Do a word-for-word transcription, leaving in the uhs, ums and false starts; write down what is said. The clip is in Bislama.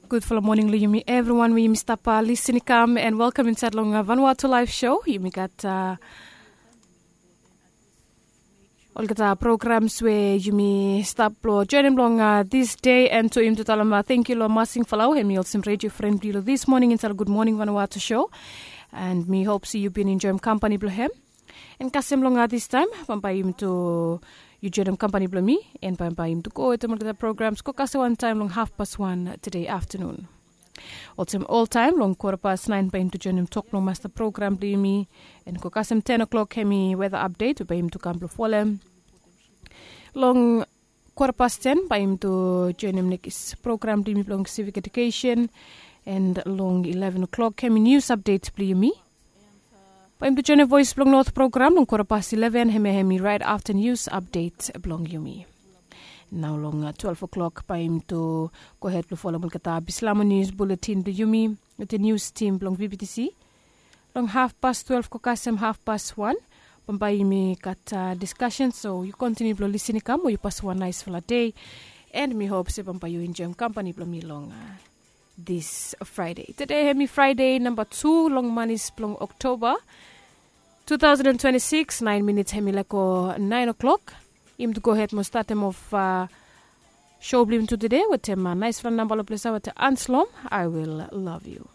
Gudfala moning long yumi evriwan we yumi stap lisin i kam, and welkam insaed long Vanuatu Laef Sho. Yumi gat olgeta programs we yumi stap blong joenem long dis dei, and tu yumi tu talem tangkiu long Masing Falau, hem i olsem redio fren blong yu long dis moning insaed long Gud Moning Vanuatu Sho. And mi hop se yu bin enjoem kampani blong hem. And kasem long distaem bambae yumi tu yu joenem kampani blong mi, and bambae yumi tu go wetem olgeta programs go kasem wantaem long hafpas wan tede aftanun. Olsem oltaem long kwatapas naen bae yumi tu joenem tok blong masta program blong yumi, and go kasem ten o'clock hem i weta apdet we bae yumi tu kam blong folem. Long kwatapas ten bae yumi tu joenem nekis program blong yumi blong sivik edukesen, and long eleven o'clock hem i nius apdet blong yumi. Bae yumi tu joenem voes blong not program long kwatapas eleven, hem ya hem i raet afta nius apdet blong yumi. Nao long twelve o'clock bae yumi tu gohed blong folem olgeta bislamo nius buletin blong yumi wetem nius tim blong VBTC. Long hafpas twelve go kasem hafpas wan, bambae yumi gat diskasen, so yu kontiniu blong lisin i kam we yu pasem wan naesfala dei. And mi hop se bambae yu enjoem kampani blong mi long dis Fraede. Tede hem i Fraede namba tu long manis blong Oktoba tu taosen twenty sikis, naen minits hem i laek go naen o'clock. Yumi tu gohed mo statem of sho blong yumi tu tede wetem naesfala namba long ples ya wetem Anslom, I Will Love You.